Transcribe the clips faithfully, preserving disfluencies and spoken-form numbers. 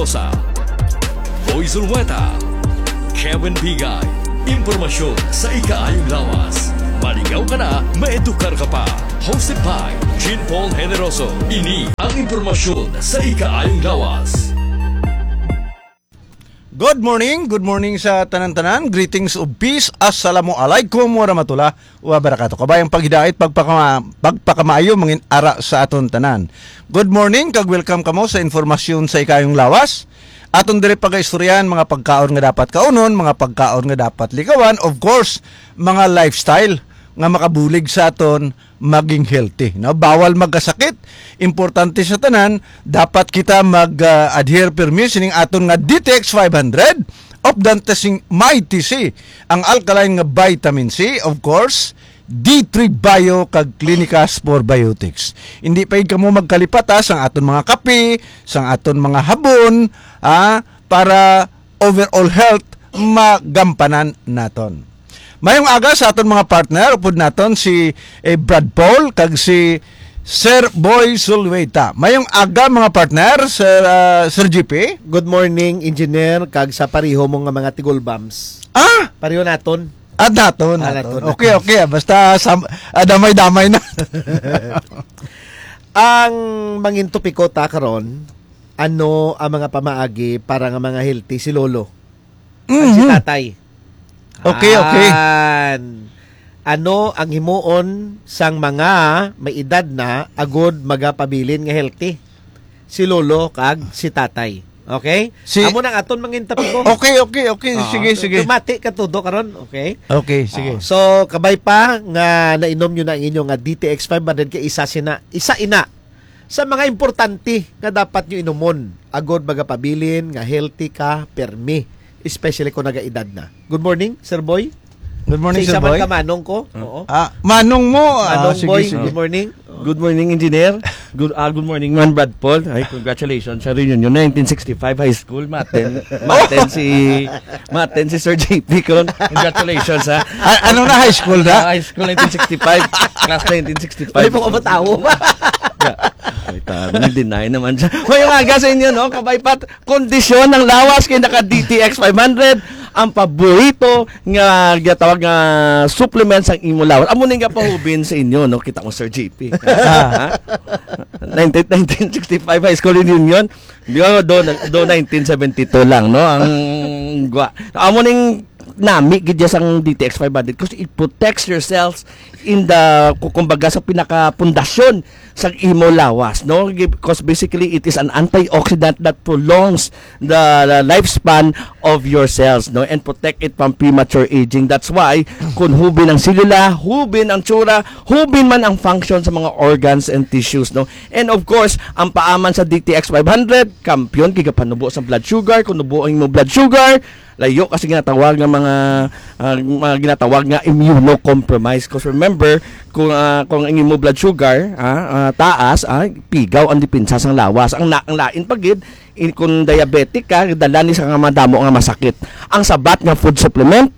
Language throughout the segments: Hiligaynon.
Sa Boy Zulweta, Kevin Bigay, impormasyon sa ikaayong lawas. Maligaw ka na, maedukar ka pa. Hosted by Jean Paul Generoso. Ini ang impormasyon sa ikaayong lawas. Good morning, good morning sa tanan-tanan. Greetings of peace. Assalamu alaikum warahmatullah wabarakatuh. Kabayang paghidait, pagpakama, pagpakamaayo mangin ara sa aton tanan. Good morning, kag welcome kamo sa informasyon sa ikayong lawas. Aton diri pagaistoryahan mga pagkaon nga dapat kaunon, mga pagkaon nga dapat likawan, of course, mga lifestyle nga makabulig sa aton maging healthy, no? Bawal magkasakit. Importante sa tanan, dapat kita mag-adhere pirmi sining aton nga D T X five hundred of Dantes sing Mighty C, ang alkaline nga vitamin C, of course, D three Bio kag Clinicas Probiotics. Hindi pa gid kamo magkalipat, ha, sang aton mga kape, sang aton mga habon, ha, para overall health magampanan naton. Mayong aga sa aton mga partner, upod naton si, eh, Brad Paul kag si Sir Boy Sulweta. Mayong aga, mga partner, Sir, ah, Sir G P. Good morning, engineer, kag sa pareho mo nga mga tigulbams. Ah! Pareho naton. Ah, naton, Ah, naton. naton. Okay, okay. Basta sam- ah, damay-damay na. Ang mangin topiko ta karon, ano ang mga pamaagi para nga mga healthy si lolo? Ang si Mhm. tatay. Okay, okay. An, ano ang himuon sang mga may edad na agod magapabilin nga healthy? Si lolo kag si tatay. Okay? Si Amo nang aton mangin topiko. Okay, okay, okay. Oo. Sige, sige. Tumati ka todo karon, okay? Okay, sige. Oo. So, kabay pa nga nainom nyo na ang inyo nga D T X five hundred kay isa sina, isa ina sa mga importante nga dapat nyo inumon agod magapabilin nga healthy ka permi, especially kung nagaedad na. Good morning, Sir Boy. Good morning, Sa isa Sir man Boy. ka manong ko. Oo. Ah, manong mo. Ah, Manong sige, Boy, sige. Good morning. Good morning, engineer. Good, ah, good morning, man, Brad Paul. Ay, congratulations sa reunion. Nineteen sixty-five high school, maten, maten si, maten si Sir J P ko. Congratulations, ha. Ah, ano na, high school na? Ah, high school, nineteen sixty-five. Class nineteen sixty-five. Ay, mga matawo ba? Yeah. Ay, ta, nag-deny naman siya. Mayong aga sa inyo, no? Kabay pa, kondisyon ng lawas kay naka D T X five hundred, ang paborito nga ginatawag nga supplement sang imo lawas. Amo ning gapahubin sa inyo, no? Kita mo, Sir J P. Ha? Nineteen, nineteen sixty-five high school reunion. Di ba, do, do nineteen seventy-two lang, no? Ang gwa. Amo ning nami gid sang D T X five hundred, 'cause it protects yourselves in the, ku-, kumbaga, sa pinakapundasyon sa imo lawas, no? Because basically, it is an antioxidant that prolongs the, the lifespan of your cells, no? And protect it from premature aging. That's why, kung hubin ang selula, hubin ang tsura, hubin man ang function sa mga organs and tissues, no? And of course, ang paaman sa D T X five hundred, kampiyon, kay gapanubo sa blood sugar, kung nubo ang imo blood sugar, layo kasi ginatawag nga mga, ah, mga ginatawag nga immunocompromised. 'Cause remember, kung, ah, kung ang imo blood sugar, ah, ah, taas, ah, pigaw ang depensa sang lawas. Ang, na, ang lain pa gid, in, kung diabetic ka, dala ni sa nga madamo nga masakit. Ang sabat nga food supplement,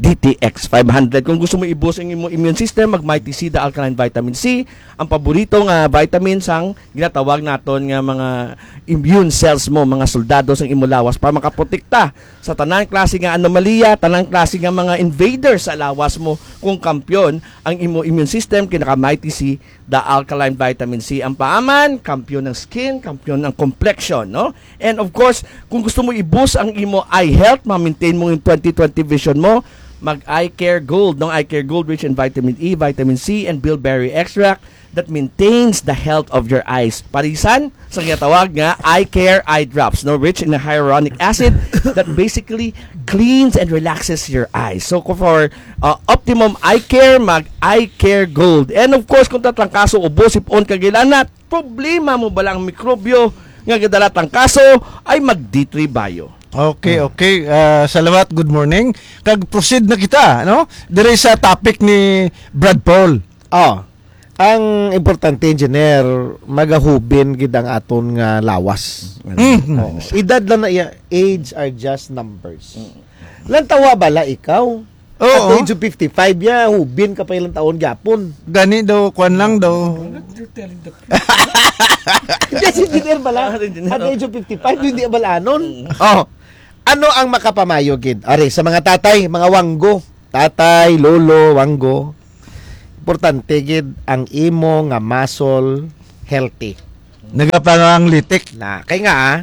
D T X five hundred. Kung gusto mo i-boost ang imo immune system, mag Mighty C, the alkaline vitamin C, ang paborito nga vitamin sang ginatawag naton nga mga immune cells mo, mga soldado sang imo lawas para makaprotekta sa tanan klase nga anomalya, tanan klase nga mga invaders sa lawas mo. Kung kampiyon ang imo immune system, kay naka Mighty C, the alkaline vitamin C. Ang paaman, kampiyon ng skin, kampiyon ng complexion, no? And of course, kung gusto mo i-boost ang imo eye health, ma-maintain mo yung twenty twenty vision mo, mag Eye Care Gold, no? Eye Care Gold rich in vitamin E, vitamin C, and bilberry extract that maintains the health of your eyes. Parisan sa ginatawag nga eye care eye drops, no, rich in hyaluronic acid that basically cleans and relaxes your eyes. So, for, uh, optimum eye care, mag Eye Care Gold. And of course, kung tatrangkaso, ubo, sipon, kag ila na, problema mo ba lang mikrobyo nga gadala trangkaso, ay mag D three Bio. Okay, okay. Ah, salamat, good morning. Kag proceed na kita, no? Dire sa topic ni Brad Paul. Oh, ang importante, engineer, magahubin gid ang aton nga lawas. Mm. Oo. Edad lang na iya, age are just numbers. Lantawa bala ikaw, Oo. At the age of fifty-five, ya, hubin ka pa ilang taon gyapon. Gani daw, kwan lang daw. You're telling the truth. Hindi, si engineer pala. Ah, engineer. At the age of fifty-five, hindi abalanon. Oh. Ano ang makapamayo, gid? Are, sa mga tatay, mga wanggo. Tatay, lolo, wanggo. Importante, gid, ang imo nga muscle healthy. Nagapanganglitik. Na, kay nga, ah,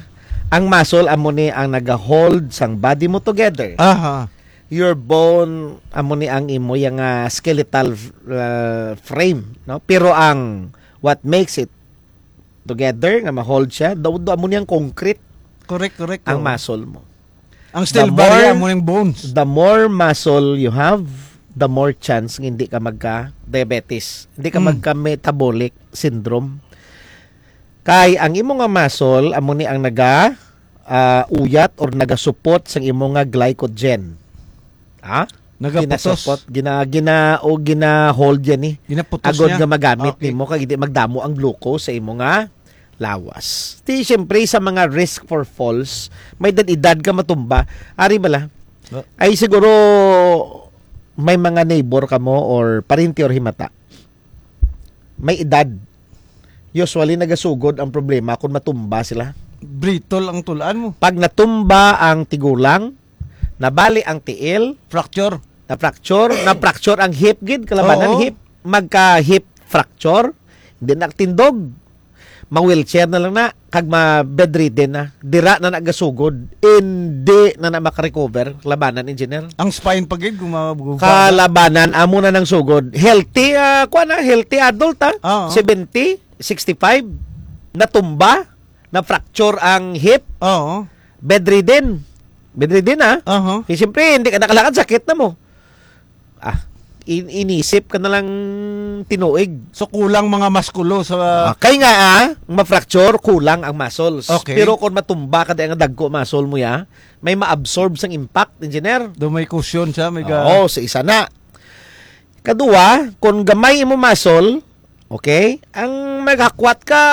ang muscle amo ni ang nagahold sang body mo together. Aha. Your bone, amo ni ang imo yang, ah, skeletal, ah, frame, no? Pero ang what makes it together nga ma-hold siya, daw, daw amo ni ang concrete. Correct, correct, Ang oo. muscle mo. Ang steel The barrier more, mo yung bones. the more muscle you have, the more chance nga hindi ka magka-diabetes, hindi ka Mm. magka-metabolic syndrome. Kay ang imo nga muscle, amo ni ang naga, ah, uyat or nagasupot sang imo nga glycogen. Ha? Nagaputos. Ginasupot, gina-, gina-, o gina-hold yan eh. Ginaputos Agod niya. nga magamit Okay. nimo, kag hindi magdamo ang glucose sa imo nga lawas. Di, siyempre, sa mga risk for falls, may edad-edad ka matumba. Ari bala? No. Ay, siguro, may mga neighbor ka mo or parinti or himata. May edad. Usually, nagasugod ang problema kung matumba sila. Brittle ang tulaan mo. Pag natumba ang tigulang, nabali ang tiil, Fracture. na-fracture, na-fracture ang hip, gid, kalabanan Oo. hip, magka-hip fracture, hindi na tindog. Ma-wheelchair na lang na, kag ma-bedridden na. Dira na nagasugod. Hindi na na makarecover. Labanan, engineer. Ang spine pa gid, kung ma-, Kalabanan, amo na nang sugod. Healthy, ah, kuwan na, healthy adult, ah. Oo. Seventy, sixty-five, natumba, na-fracture ang hip, Oo. bedridden. Bedridden, ah. Aha. Eh, siyempre, hindi ka nakalakad, sakit na mo. Ah, in-, inisip ka na lang tinuig. So, kulang mga maskulo sa Ah, kay nga, ah, ma-fracture, kulang ang muscles. Okay. Pero kung matumba ka, di ang dagko muscle mo, ya, may ma-absorb sang impact, engineer. Do may cushion siya, may ga- Oo, sa isa na. Kadua, kung gamay imo muscle, okay, ang maghakwat ka,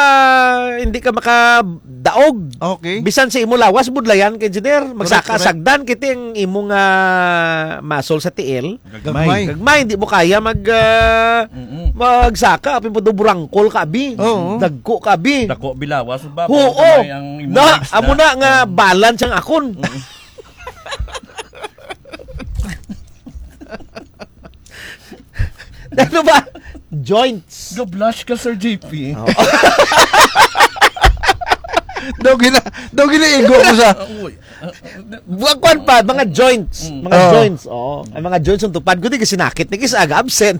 hindi ka makadaog. Okay. Bisan sa imo lawas, budlayan ka, engineer. Correct, Magsaka correct. sagdan, kiti ang imo nga muscle sa tiil. Gagmay. Gagmay. Gagmay, hindi mo kaya mag, ah, Mm-mm. magsaka, apin po do burangkol ka, abi. Oo. Dagko ka, abi. Dako bilawas, ba? Oo. Gagmay ang imo Na, legs amo na. na nga Oo. balance ang akon. Mm. Ano ba? Joints. Ga-blush ka, Sir J P. Oo. Daw gina-, daw ginaigo ko sa Uy. Buwag kwan pa, mga joints. Mm. Mga Oo. joints, oo. Ang mga joints ang tupad ko, di kasi nakit, ni kis aga absent.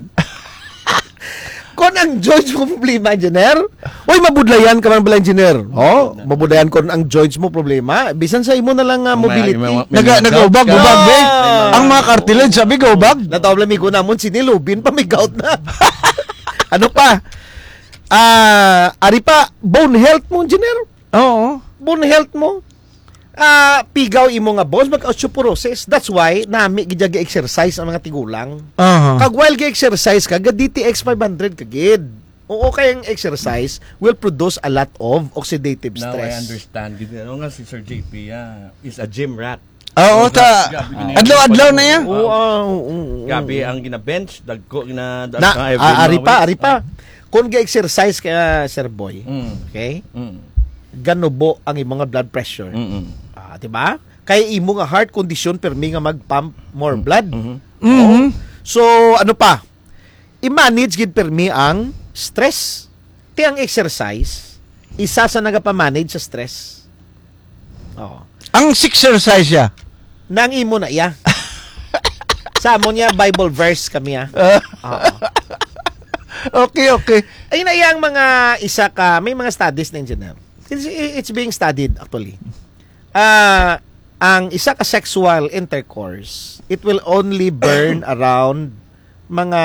Kung ang joints mo problema, engineer, oy, mabudlayan ka man bala, engineer. Oh, mabudlayan ko ang joints mo problema. Bisan sa imo na lang, ah, May, mobility. may, may Naga-, gout nagaubag, ka. ubag, be. Ah. Ang mga cartilage, sabi, gaubag. Natawa lang, amigo namon, sinilubin pa, may gout na. Ano pa? Ah, ari pa, bone health mo, engineer. Oo. Bone health mo. Ah, pigaw imo nga bones, mag-osteoporosis. That's why, nami gid exercise ang mga tigulang. Aha. Kag while ga-exercise ka, ga D T X five hundred ka gid. Oo, kay ang exercise will produce a lot of oxidative Now I stress. understand. Gid, ano nga si Sir J P, ah, is a gym rat. Oo, Oh, ta-, grabe, grabe, adlaw-adlaw na yan. Oo, ah, oo, oo, oo. Grabe ang gina-bench, dagko gina-, Na, ang every ah, ari pa, weeks. ari pa. Kung ga-exercise ka, Sir Boy, Mm. okay? Mm. Ganubo ang imong blood pressure. Mm-mm. Ah, di ba? Kay imo nga heart condition, permi nga mag-pump more Mm. blood. Mm-hmm. Oo. Mm-hmm. So, ano pa? I-manage gid permi ang stress. Ti ang exercise, isa sa nagapamanage sa stress. Oo. Ang exercise siya? Nang imo na iya. Sa amon niya, Bible verse kami, ah. Ah. Oo. Okay, okay. Ay na iyang mga isa ka, may mga studies na engineer. It's, it's being studied, actually. Ah, ang isa ka sexual intercourse, it will only burn around mga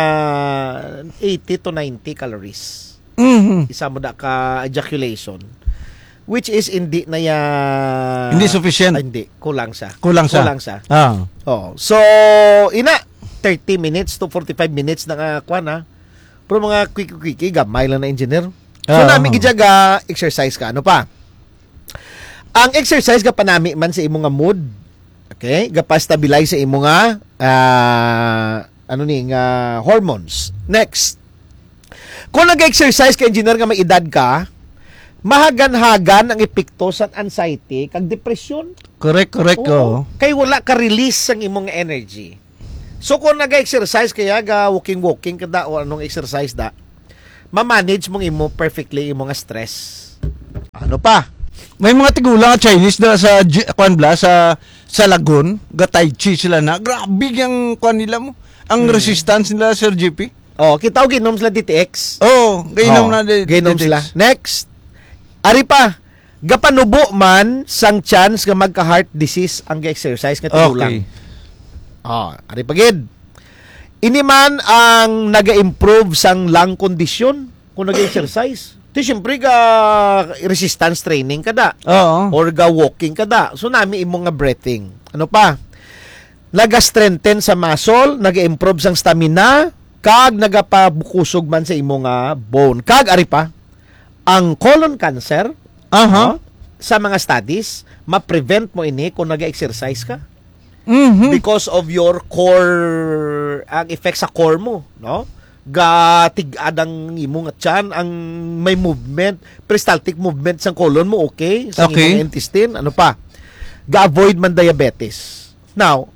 eighty to ninety calories. Mhm. Isa mo da ka ejaculation, which is hindi na ya Hindi sufficient. Ah, hindi. Kulang sa. Kulang sa. Kulang sa. Ah. Oh. So, ina, thirty minutes to forty-five minutes na nga, kwan, ha? Pero mga quick-quick, gamay lang na, engineer. So, Ah, nami ah. gid siya ga exercise ka. Ano pa? Ang exercise gapanami man sa imo nga mood. Okay? Gapa-stabilize sa imo nga ah, ano ni, nga hormones. Next. Kung nag-exercise ka, engineer, nga may edad ka, mahagan-hagan ang epekto sa anxiety kag depresyon. Correct, correct, Oo. oo. Kay wala ka release sang imong energy. So, kung nag-exercise kaya ga walking-walking ka da o anong exercise da, ma-manage mong imo perfectly imo nga stress. Ano pa? May mga tigulang nga Chinese na sa J-, kwan bla, sa, sa Lagun, ga Tai Chi sila na. Grabe yung kwan nila mo. Ang Hmm. resistance nila, Sir G P. Oh, kita ko ginom sila D T X. Oo, gainom Oh, na di-, gainom D T X. sila. Next. Ari pa, gapanubo man sang chance nga magka-heart disease ang exercise nga tigulang. Okay. Oh, ari pa gid. Ini man ang naga-improve sang lung condition kung nag-exercise. Ti siyempre ga resistance training ka da. Oo. Or ga walking ka da. So nami imo nga breathing. Ano pa? Naga-strengthen sa muscle, naga-improve sang stamina, kag nagapabukusog man sa imo nga bone. Kag ari pa, ang colon cancer, Aha. no? Sa mga studies, ma-prevent mo ini kung nag-exercise ka. Mhm. Because of your core, ang effect sa core mo, no? Gatig-ad ang imo nga tiyan, ang may movement, peristaltic movement sang colon mo, okay? Sa Okay. imong intestine, ano pa? Ga-avoid man diabetes. Now,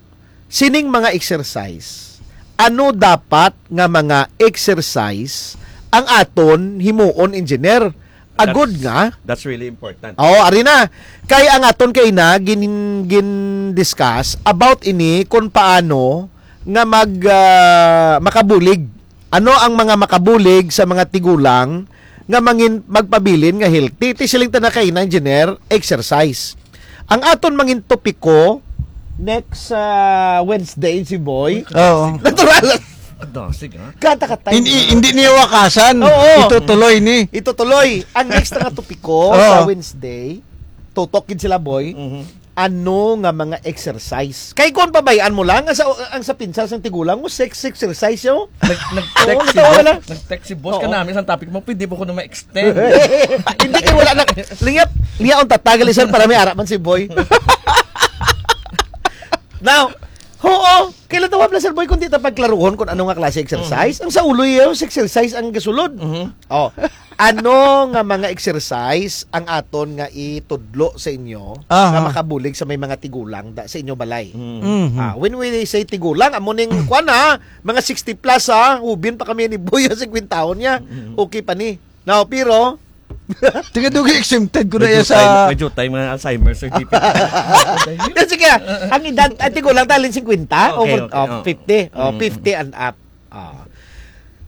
sining mga exercise, ano dapat nga mga exercise ang aton himuon, engineer? Agod That's, nga that's really important. Oo, ari na. Kay ang aton kay na gin, gin-discuss about ini kung paano nga mag, ah, makabulig. Ano ang mga makabulig sa mga tigulang nga mangin, magpabilin nga healthy? Ti siling ta na kay na, engineer, exercise. Ang aton mangin topiko next, ah, Wednesday, si Boy. Oo. Natural. Dasig, ha? Katakatay. Hindi, hindi niya wakasan. Oo. Itutuloy ni. Itutuloy. Ang next nga topiko Oo. sa Wednesday, tutok gid sila, Boy. Mhm. Ano nga mga exercise? Kay kung pabayaan mo lang, ang sa, ang sa pinsar sang tigulang mo, sex exercise, yo. Nag-, nag-text Oo, si natawa boss. lang. Nag-text si boss Oo. kanami sa topic mo, pwede mo ko na ma-extend. Hindi kay wala na. Lingap, liya ang tatagal, sir, para may ara man si Boy. Now, oo, kailan tawag na, Sir Boy, kung di ta pagklaruhon kung ano nga klase exercise? Mhm. Ang sa ulo, yung exercise ang gasulod. Mhm. Oh, ano nga mga exercise ang aton nga itudlo sa inyo Aha. nga makabulig sa may mga tigulang da, sa inyo balay? Mhm. Mhm. Ah, when we say tigulang, amo ning kwan, ha, mga sixty plus, ha, ubin pa kami ni Boy, ang singkwentahon niya. Mhm. Okay pa ni. Now, pero, Tiga dugi exempted ko na Medyo iya sa time, medyo time nga Alzheimer, Sir G P. Yan, sige, ang edad, ang tigulang talin cinquenta, Okay, over, okay, oh, oh. fifty, oh, Mm. fifty and up. Ah.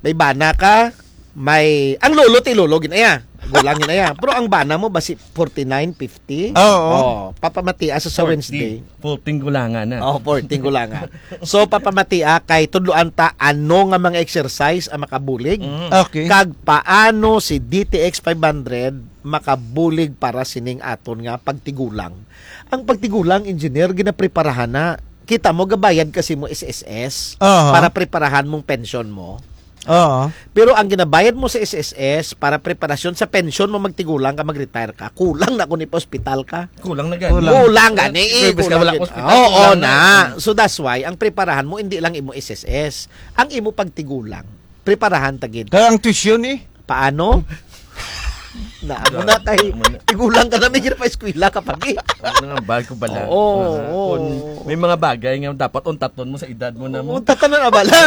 May bana ka, may, ang lolo, ti lolo, ginaya. Gulang ginaya. Pero ang bana mo, basi forty-nine, fifty? Oo. Oh, papamatia sa, sa Forty. Wednesday. Forty gulangan na. Oh, forty gulangan. So, papamatia kay tudloan ta ano nga mga exercise ang makabulig. Mm. Okay. Kag paano si D T X five hundred makabulig para sining aton nga pagtigulang. Ang pagtigulang, engineer, ginapreparahan na. Kita mo, gabayad kasi mo S S S Aha. para preparahan mong pensyon mo. Oo. Pero ang ginabayad mo sa S S S para preparasyon sa pensyon mo, magtigulang ka, mag-retire ka, kulang na kung ipa-hospital ka. Kulang na gani. Kulang. Kulang gani, eh, Pwede ka kulang wala gid. Hospital, Oo kulang na. na. So that's why ang preparahan mo hindi lang imo S S S, ang imo pagtigulang. Preparahan ta gid. Kaya ang tuition eh. Paano? Na, amo na kay Amo na. tigulang ka na, may pa eskwela ka pa, eh. Ano nga, bag ko bala. Oo, Ah, oo. kung may mga bagay nga dapat untaton mo sa edad mo na mo. Oo, tatanan na bala.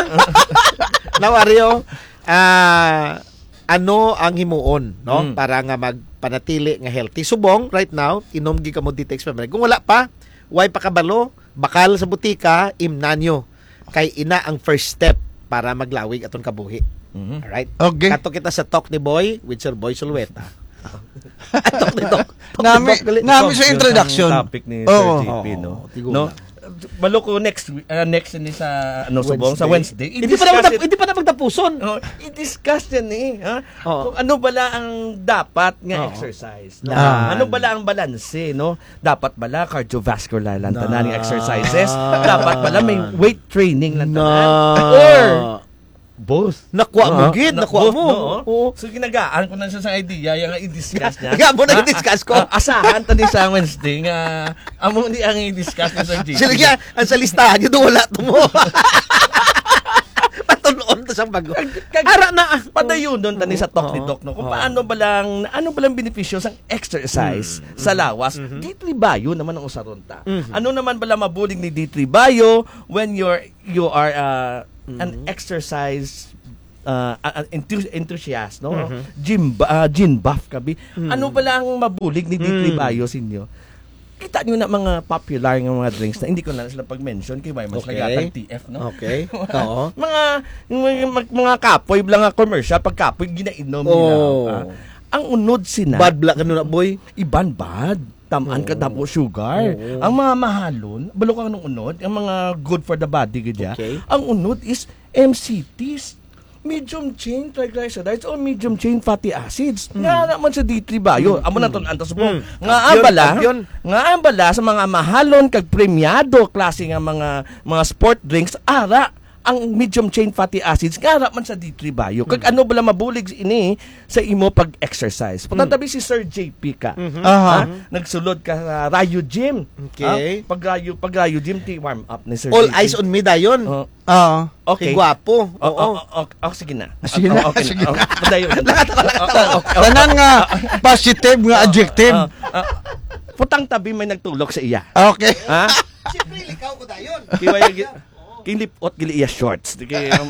Now, Ario, ah, ano ang himuon, no? Hmm. Para nga magpanatili nga healthy. Subong, right now, inom gid kamo D T X Pamre. Kung wala pa, way pa kabalo, bakal sa butika, imnanyo. Kay ina ang first step para maglawig aton kabuhi. Mhm. Alright? Okay. Kato kita sa Talk ni Boy with Sir Boy Sulweta. Talk ni Doc. Talk ni Nami, Doc, gali. nami sa Yun ang introduction. topic ni Oo. Sir G P, no? Oo, tigulang. No? Balo ko next week, ah, next ni sa, ano, subong, sa Wednesday. Wednesday. Hindi pa na I-discuss magtap-, it. hindi pa na magtapuson. Oh, i-discuss yan eh, ha? Oo. Kung ano bala ang dapat nga Oo. exercise, no? Na. Ano bala ang balanse, no? Dapat bala cardiovascular lang tanan nga Na. exercises? Dapat bala may weight training lang tanan? Na. Or Both. Nakuha mo, Ah, gid, na-, nakuha both, mo. No? Oo. So, ginagaan ko na siya sa idea, yung i-discuss niya. Nga mo na Ah, i-discuss ko. Ah, asahan ta ni sa Wednesday nga, amo ni ang i-discuss ni Sir G P. Sila kaya, ang sa listahan yun, wala to mo. Patunoon to siyang bago. Kag-, kag-, Ara na. Padayon doon tani sa talk ni Oo. Doc, no? Kung Oo. paano ba lang, ano ba lang benepisyo sang exercise Mm, sa mm, lawas? mm-hmm. D three Bio naman ang usaron ta. Mm-hmm. Ano naman ba lang mabulig ni D three Bio when you're, you are, uh, an Mm-hmm. exercise, uh, uh, enthu-, enthusiast, no? Mm-hmm. Gym ba-, uh, gym buff ka, bi? Mm. Ano ba lang mabulig ni D three Mm. Bio sa inyo? Kita nyo na mga popular nga mga drinks na hindi ko na sila pag-mention kay may mas Okay. nagatag T F, no? Okay. Oo. Mga, mga, mga, mga kapoy lang nga commercial, pag kapoy, ginainom nila. Oh. Ah, ang unod sina. Bad black ano na, boy? Iban bad. Tamaan ka Oo. damo sugar. Oo. Ang mga mahalon, balo ka ng unod, ang mga good for the body, gid ya. Okay. Ang unod is M C Ts. Medium chain triglycerides or medium chain fatty acids. Mm. Nga naman sa D three Bio. Mm. Amo na Mm. ton, antas mo. Mm. Nga Kampiyon, ambala, kampiyon. nga ambala sa mga mahalon kag premiado klase nga mga, mga sport drinks, ara ang medium chain fatty acids, nga ara man sa D three Bio. Kag Mm. ano bala mabulig ini sa imo pag-exercise? Mm. Patatabi si Sir J P ka. Mhm. Aha. Ha? Nagsulod ka sa Rayo Gym. Okay. Ha? Pag Rayo, pag Rayo Gym, ti warm up ni Sir All J P. Eyes on me dayon. Oh. Oo. Okay. Kay gwapo. Oh, Oo. oh, oh, oh, sige na. Sige na, Oh, okay sige na. Oh, padayon na. Lakat, lakat, Oh, lakat. oh, oh, oh. Tanan nga positive nga Ah, adjective. ah, ah. Putang tabi may nagtulok sa iya. Okay. Ha? Siyempre, likaw ko dayon. Kiway gi-, kinlipot gili iya shorts. Di kay, um,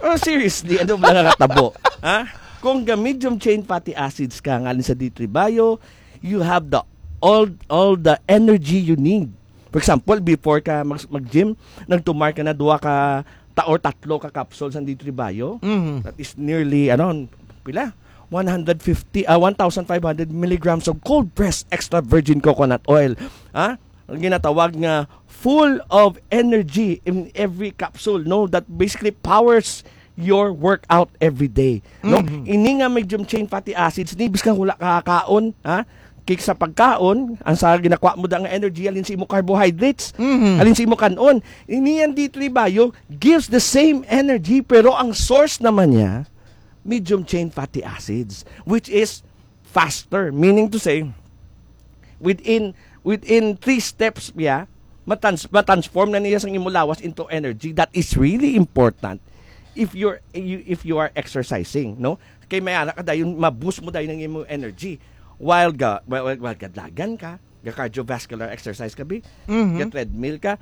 Oh, seriously, ano ba nga tabo? Ha? Kung ga medium chain fatty acids ka ngalin sa D three Bio, you have the all all the energy you need. For example, before ka mag, mag-gym, nagtumar ka na duha ka ta or tatlo ka capsules ng D three Bio. Mhm. That is nearly, ano, pila? One hundred fifty, ah, one thousand five hundred milligrams of cold pressed extra virgin coconut oil. Ha? Ang ginatawag nga full of energy in every capsule, no? That basically powers your workout every day, no? Mhm. Ini nga medium chain fatty acids ni, bisan wala ka kaon, ha? Kay sa pagkaon, ang sa ginakuha mo da nga energy, alin sa imo carbohydrates, Mhm. alin sa imo kanon. Ini ang D three Bio gives the same energy, pero ang source naman niya, medium chain fatty acids, which is faster. Meaning to say, within, within three steps, yeah, matans-, matransform na niya sang imo lawas into energy. That is really important if you're, you, if you are exercising, no? Kay may ara ka dayon, ma-boost mo dayon ang imo energy. While ga, while, while, while gadlagan ka, ga cardiovascular exercise ka, bi? Mhm. Ga treadmill ka,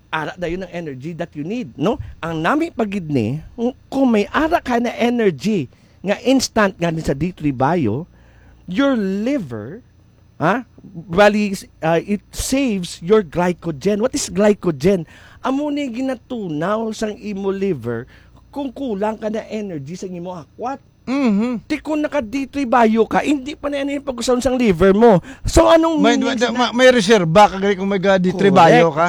ara dayon ang energy that you need, no? Ang nami pa gid ni, kung may ara ka na energy nga instant nga ni sa D three Bio, your liver, ha? Bali, uh, it saves your glycogen. What is glycogen? Amo ni ginatunaw sang imo liver kung kulang ka na energy sa imo akwat. Mhm. Ti kung naka D three Bio ka, hindi pa na yan yung pag-usaw sang liver mo. So, anong May, meaning may, na ma-, may reserba ka gani kung may ga D three Bio Correct. ka?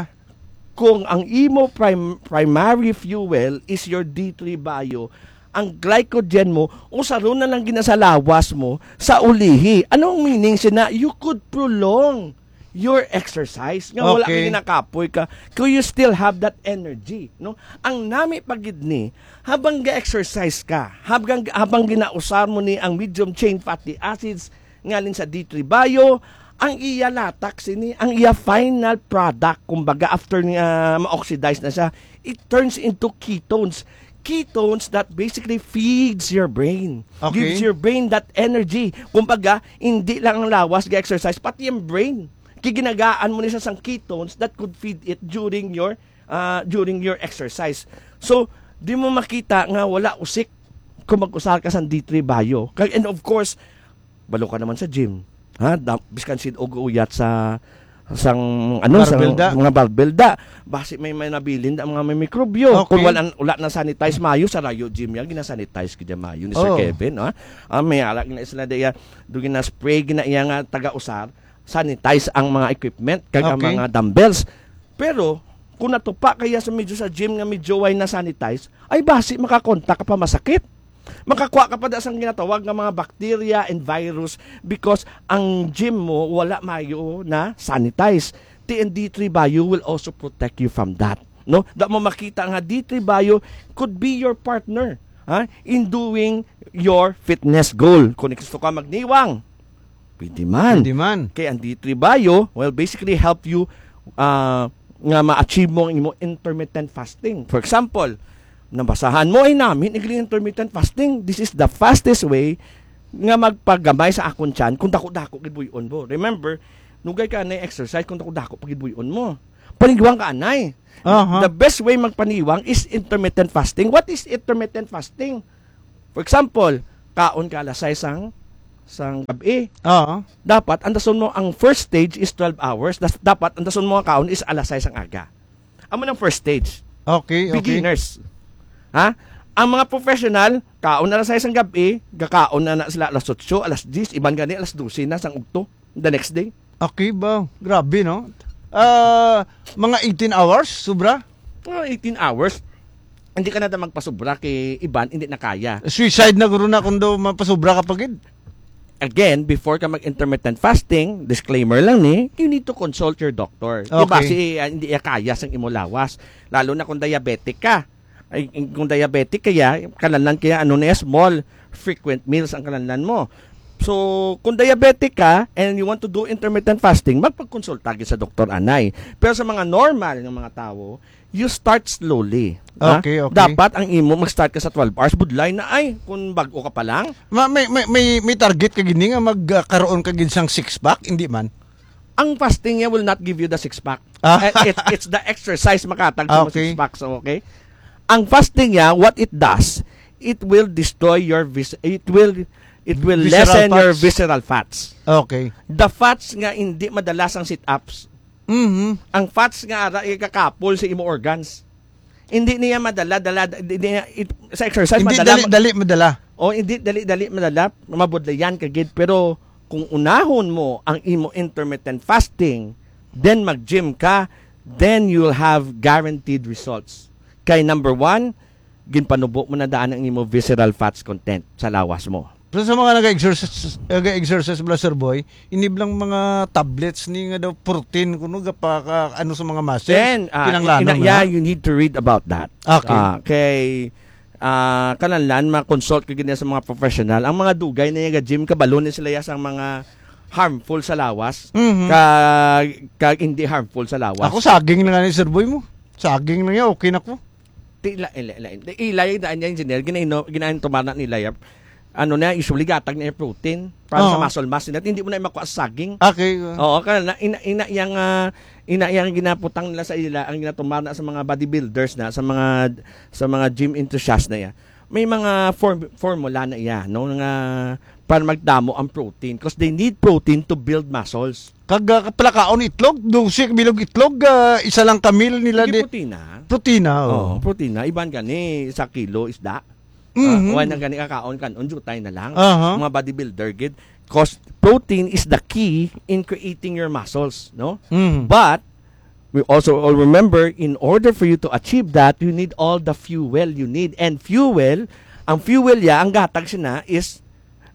Kung ang imo prim-, primary fuel is your D three Bio, ang glycogen mo, usaron na lang ginasalawas mo sa ulihi. Anong meaning siya na you could prolong your exercise? Nga wala Okay. ka ginakapoy ka, kung you still have that energy, no? Ang nami pa gid ni, habang ga-exercise ka, habang, habang ginausar mo ni ang medium chain fatty acids, ngalin sa D three Bio, ang iya latak sini, ang iya final product, kumbaga, after nga ma-oxidize na siya, it turns into ketones. Ketones that basically feeds your brain. Okay. Gives your brain that energy. Kumbaga, hindi lang ang lawas ga-exercise, pati yung brain. Kiginagaan mo ni siya sang ketones that could feed it during your, ah, during your exercise. So, di mo makita nga wala usik kung mag-usar ka sang D three Bio. Kag, and of course, balo ka naman sa gym. Ha? Da-, biskan sin og uyat sa, sang, ano, sa Barbell da. mga barbell da. Basi may, may nabilin da, mga may mikrobyo. Okay. Kung wala, wala na sanitize mayo sa Rayo Gym yan, gina-sanitize gid mayo ni Sir Oh. Kevin, ha? Ah, may ara gina sila da iya, do gina-spray gina iya nga taga-usar, sanitize ang mga equipment, kag ang Okay. mga dumbbells. Pero, kung natupa kaya sa medyo sa gym nga medyo way na sanitize, ay basi makakontak ka pa masakit. Makakuha ka pa da sang ginatawag nga mga bacteria and virus because ang gym mo wala mayo na sanitize. T N D three Bio will also protect you from that. No? Da mo makita nga D three Bio could be your partner, ha, in doing your fitness goal. Kung gusto ka magniwang, pwede man. Pwede man. Kay ang D three Bio will basically help you, ah, nga ma-achieve mo ang imo intermittent fasting. For example, nabasahan mo ay namin igli intermittent fasting. This is the fastest way nga magpagamay sa akon tiyan kung dako-dako gid buy-on mo. Remember, nugay ka na exercise kung dako-dako pa gid buy-on mo. Panigwang ka anay. Aha. The best way magpaniwang is intermittent fasting. What is intermittent fasting? For example, kaon ka alas sais sang, sang gabi. Oo. Dapat andason mo ang first stage is twelve hours. Das-, dapat andason mo ang kaon is alas sais sang aga. Amo nang first stage. Okay, okay. Beginners. Ha? Ang mga professional, kaon na alas sais sang gabi, gakaon na na sila alas otso, alas diyes, iban gani alas dose na sang ugto, the next day. Okay ba? Grabe, no? Ah, mga eighteen hours, sobra? Mga eighteen hours. Hindi ka na da magpasobra kay iban, hindi na kaya. Suicide na guro na kung daw mapasubra ka pa gid. Again, before ka mag-intermittent fasting, disclaimer lang ni, you need to consult your doctor. Di ba? Okay. Si, ah, hindi iya kaya sang imo lawas. Lalo na kung diabetic ka. Ay, kung diabetic kaya, kananan kaya ano na small, frequent meals ang kananan mo. So, kung diabetic ka and you want to do intermittent fasting, magpagkonsulta gid sa doktor anay. Pero sa mga normal nga mga tawo, you start slowly. Ha? Okay, okay. Dapat ang imo mag-start ka sa twelve hours, budlay na ay kung bag-o ka pa lang. Ma-, may, may, may, may target ka gini nga magkaroon ka gid sang six pack, hindi man. Ang fasting niya will not give you the six pack. Ah. Eh, it, it's the exercise makatag sa Okay. six pack. So, okay? Ang fasting niya, what it does, it will destroy your vis-, it will, it will Visceral lessen your fats. visceral fats. Okay. The fats nga hindi madala sang sit-ups. Mhm. Ang fats nga ara ikakapol sa imo organs. Hindi niya madala, dala, hindi niya, it, sa exercise, Hindi madala, dali, ma- dali madala. O, hindi dali, dali madala, mabudlayan ka gid. Pero kung unahon mo ang imo intermittent fasting, then mag-gym ka, then you'll have guaranteed results. Kay number one, ginpanubo mo na daan ang imo visceral fats content sa lawas mo. Pero sa mga nag-exercise, nag-exercise bala, Sir Boy, iniblang mga tablets ni nga daw protein kuno gapaka-, ano sa mga muscles, Then, ah, kinahanglan ina-, na. yeah, you need to read about that. Okay. Ah, kay, ah, kanahanglan ma-consult ka gid sa mga professional. Ang mga dugay na nga gym, kabalo na sila ya sang mga harmful sa lawas, Mhm. ka, ka hindi harmful sa lawas. Ako, saging na nga ni Sir Boy mo. Saging na nga, okay na ko. Ti-, la-, la-, la-, ilay daan niya, engineer, ginaino-, ginain tumana nila ya. Ano na, usually gatag na yung protein para sa Oo. muscle mass nila. Hindi mo na makuha sa saging. Okay. Oo, kana na, ina, ina yang, ah, ina yang ginaputang nila sa ila, ang ginatumana sa mga bodybuilders na, sa mga, sa mga gym enthusiast na ya. May mga form-, formula na iya, no, nga para magdamo ang protein, 'cause they need protein to build muscles. Kag, ah, palakaon itlog, dose ka bilog itlog, ah, isa lang ka meal nila Hindi di protina. Protina, oh. Oo, protina. Iban gani sa kilo isda. Mhm. Ah, wala na gani kakaon kan, unjutay na lang. Aha. Mga bodybuilder gid. 'Cause protein is the key in creating your muscles, no? Mhm. But we also all remember, in order for you to achieve that, you need all the fuel you need. And fuel, ang fuel ya, ang gatag sina is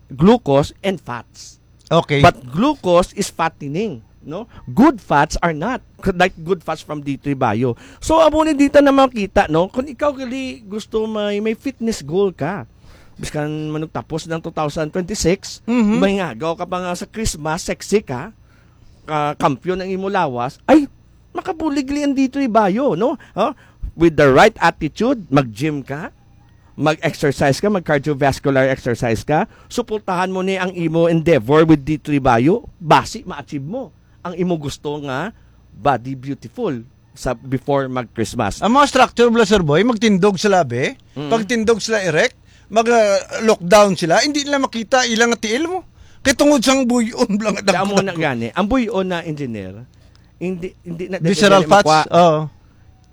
glucose and fats. Okay. But glucose is fattening, no? Good fats are not, like good fats from D three Bio. So, amo ni dita na makita, no? Kung ikaw gali gusto may, may fitness goal ka, biskan manugtapos ng two thousand twenty-six, Mhm. may ngagaw ka pa nga sa Christmas, sexy ka, ka, kampiyon ang imo lawas, ay, makabulig li ang D three Bio, no? Huh? With the right attitude, mag-gym ka, mag-exercise ka, mag-cardiovascular exercise ka, suportahan mo ni ang imo endeavor with D three Bio, basi ma-achieve mo ang imo gusto nga body beautiful sa before mag-Christmas. Ang mga structure bala, Sir Boy, magtindog sila, be. Mm. Pagtindog sila erect, mag, ah, look down sila, hindi nila makita ilang tiil mo. Kay tungod sang buyon lang nga Kaya mo dagko-dagko. na gani, ang buyon na, engineer, hindi, hindi na Visceral dali fats? makuha. Oo.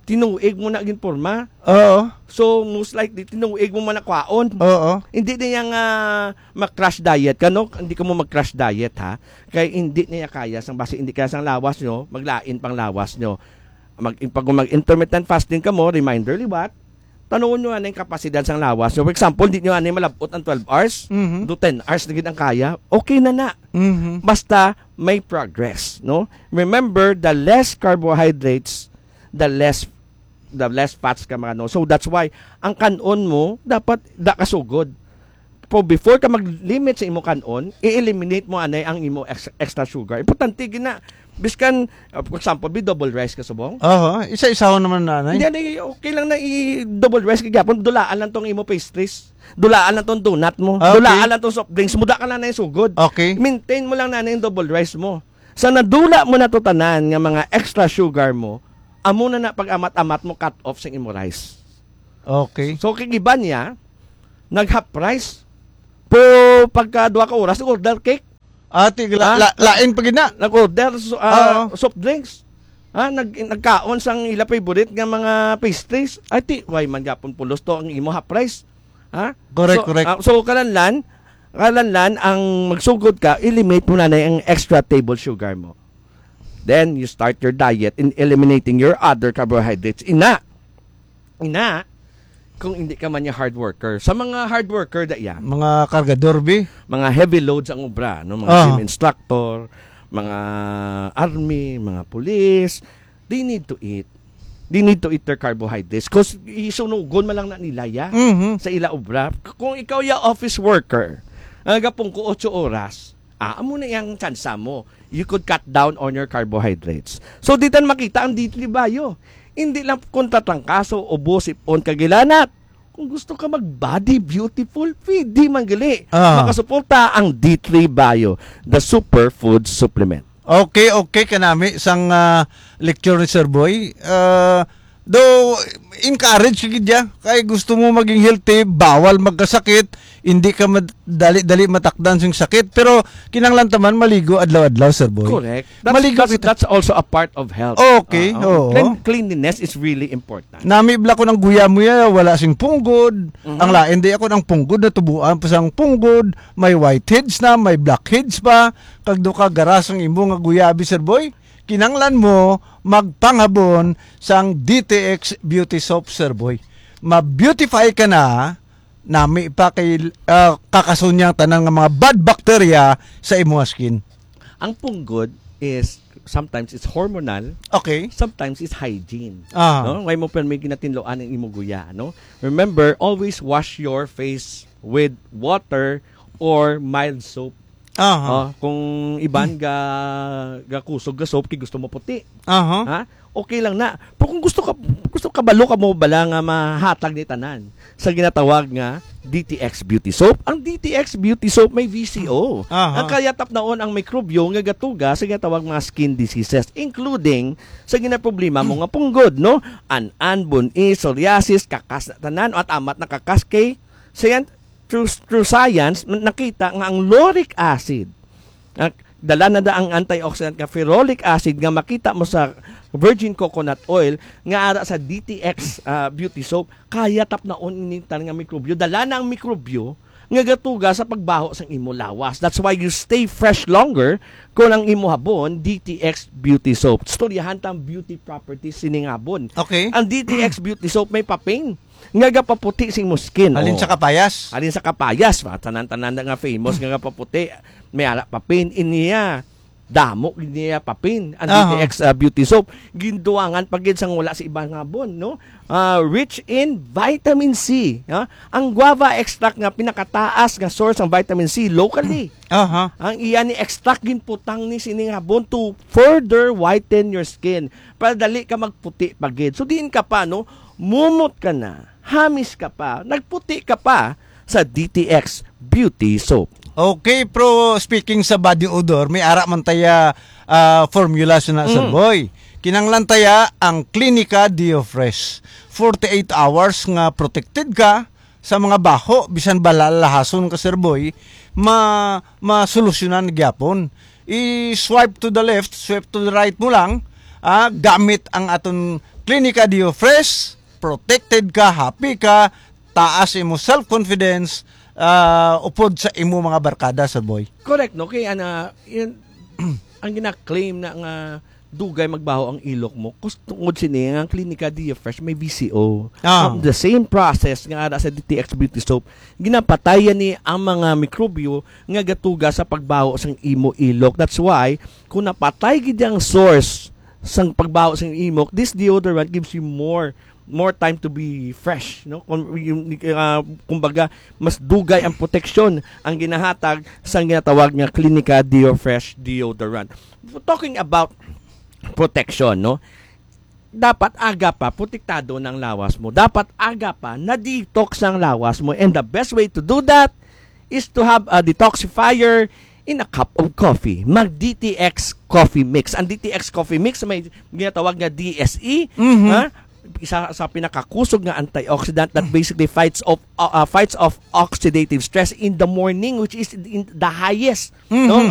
Tinuig mo na ginporma. Oo. So, most likely, tinuig mo man nakwaon. Oo. Hindi na yang, ah, mag-crash diet ka, no? Hindi ka mo mag-crash diet, ha? Kay hindi niya kaya sang basi, hindi kaya sang lawas nyo, maglain pang lawas nyo. Mag, pag mag-intermittent fasting ka mo, reminder liwat, tanawon nyo anay ang kapasidad sang lawas nyo. For example, di nyo anay malabot ang twelve hours, Mhm. do ten hours na gid ang kaya, okay na na. Mhm. Basta may progress, no? Remember, the less carbohydrates, the less the less fats ka mga, no. So that's why ang kanon mo dapat da kasugod. Po, before ka mag-limit sa imo kanon, i-eliminate mo anay ang imo ex- extra sugar. Importante gina. Biskan, uh, for example, bi double rice ka subong. Oho, isa-isahon naman na, Hindi, nay. Hindi, okay lang na i-double rice ka gyapon. Dulaan lang tong imo pastries. Dulaan lang tong donut mo. Ah, okay. Dulaan lang tong soft drinks mo. Da ka lang na yung sugod. Okay. Maintain mo lang na yung double rice mo. Sa nadula mo na to tanan nga mga extra sugar mo, amo na na pag-amat-amat mo cut off sa imo rice. Okay. So, kay iban niya, nag-half rice. Po, pagka duha ka oras, order cake. Ati, la, Ah? la, lain pa gid na. Nag-order so, ah, Oo. soft drinks. Ha? Nag, nagkaon sang ila favorite nga mga pastries. Ay, ti, why man gapon pulos to ang imo half rice? Ha? Correct, So, correct. ah, so, kalanlan, kalanlan, ang magsugod ka, eliminate mo na na ang extra table sugar mo. Then, you start your diet in eliminating your other carbohydrates. Ina, ina, kung hindi ka man niya hard worker. Sa mga hard worker, da iya, Mga kargador, bi. mga heavy loads ang obra, no? Mga Ah. gym instructor, mga army, mga police, they need to eat. They need to eat their carbohydrates. 'Cause isunugon man lang na nila, ya, Mhm. sa ila obra. Kung ikaw ya office worker, ang gapong ko otso oras, ah, amo na yung tsansa mo. You could cut down on your carbohydrates. So, di tan makita ang D three Bio. Hindi lang kung tatrangkaso, ubo, sipon, kagilanat. Kung gusto ka mag-body beautiful, pwede man gali. Ah. Makasuporta ang D three Bio, the superfood supplement. Okay, okay, kanami sang ah, lecture ni Sir Boy. Ah, do encourage gid ya kay gusto mo maging healthy, bawal magkasakit, hindi ka mad- dali-dali matakdan sing sakit, pero kinahanglan ta man maligo adlaw-adlaw, Sir Boy. Correct. That's, Maligo that's, kita. That's also a part of health. Okay, Ah, oo. clean- cleanliness is really important. Nami bala ko ng guya mo ya, wala sing punggod. Mhm. Ang lain di ako ng punggod na tubuan pa sang punggod. May whiteheads na, may blackheads pa. Kag do ka garas ang imo nga guyabi, Sir Boy. Kinanglan mo magpangabon sang D T X Beauty Soap, Sir Boy. Ma-beautify ka na, nami pa kay ah, kakasunyang tanan nga mga bad bacteria sa imo nga skin. Ang punggod is sometimes it's hormonal, Okay. sometimes it's hygiene. Ah. No? Why mo pa may ginatinloan ang imo guya, no? Remember, always wash your face with water or mild soap. Aha. Oh, kung iban ga gakusog ga soap kay gusto mo puti. Aha. Ha? Okay lang na. Pero kung gusto ka gusto ka balo ka mo bala nga mahatag ni tanan sa ginatawag nga D T X Beauty Soap. Ang D T X Beauty Soap may V C O. Aha. Ang kaya tapnaon ang mikrobyo nga gatuga sa ginatawag mga skin diseases, including sa ginaproblema mo nga punggod, no? An-an, bun-i, psoriasis, kakas na tanan, at amat na kakas kay science, through, through science, nakita nga ang lauric acid, ah, dala na da ang antioxidant nga ferulic acid nga makita mo sa virgin coconut oil nga ara sa D T X ah, beauty soap, kaya tapnaon ini tan nga mikrobyo. Dala na ang mikrobyo nga gatuga sa pagbaho sang imo lawas. That's why you stay fresh longer kung ang imo habon D T X beauty soap. Istoryahan ta ang beauty properties sining habon. Okay. Ang D T X beauty soap may paping nga gapaputi sa imo skin. Halin Oh. sa kapayas. Halin sa kapayas, ba? Tanan-tanan na nga famous nga gapaputi. May ara papin. Iniya, damo iniya papin. Ang Aha. D T X ah, beauty soap. Ginduwangan pa gid sang wala sa ibang habon, no? Ah, rich in vitamin C. Ha? Ang guava extract nga pinakataas nga source ng vitamin C locally. Aha. Ang iya ni extract ginputang ni sining habon to further whiten your skin. Para dali ka magputi pa gid. So diin ka pa, no? Mumot ka na. Hamis ka pa. Nagputi ka pa sa D T X Beauty Soap. Okay, pero speaking sa body odor, may ara man taya ah, formula sa na, Sir Mm. Boy. Kinanglan taya ang Clinica Deo Fresh. Forty-eight hours nga protected ka sa mga baho, bisan balalahason ka, Sir Boy, ma masolusyonan gyapon. I-swipe to the left, swipe to the right mo lang, ah, gamit ang aton Clinica Deo Fresh, protected ka, happy ka, taas imo self-confidence, ah, upod sa imo mga barkada, Sir Boy. Correct, no? Kaya ana, yun, ang gina-claim na nga dugay magbaho ang ilok mo, kus-, tungod sini nga ang Klinika Dia Fresh may V C O. Ah. Ang the same process nga ara sa D T X Beauty Soap, ginapatayan ni ang mga mikrobyo nga gatuga sa pagbaho sang imo ilok. That's why, kung napatay gid ang source sang pagbaho sang imok, this deodorant gives you more more time to be fresh, no? Kung, yung, ah, kumbaga, mas dugay ang proteksyon ang ginahatag sa ginatawag nga Clinica Deo Fresh deodorant. Talking about protection, no? Dapat aga pa protektado ng lawas mo. Dapat aga pa na-detox ang lawas mo. And the best way to do that is to have a detoxifier in a cup of coffee. Mag D T X coffee mix. Ang D T X coffee mix may ginatawag nga D S E, Mhm. ha? Isa sa pinakakusog nga antioxidant that basically fights of uh, uh, fights off oxidative stress in the morning, which is in the highest, Mhm. no, nga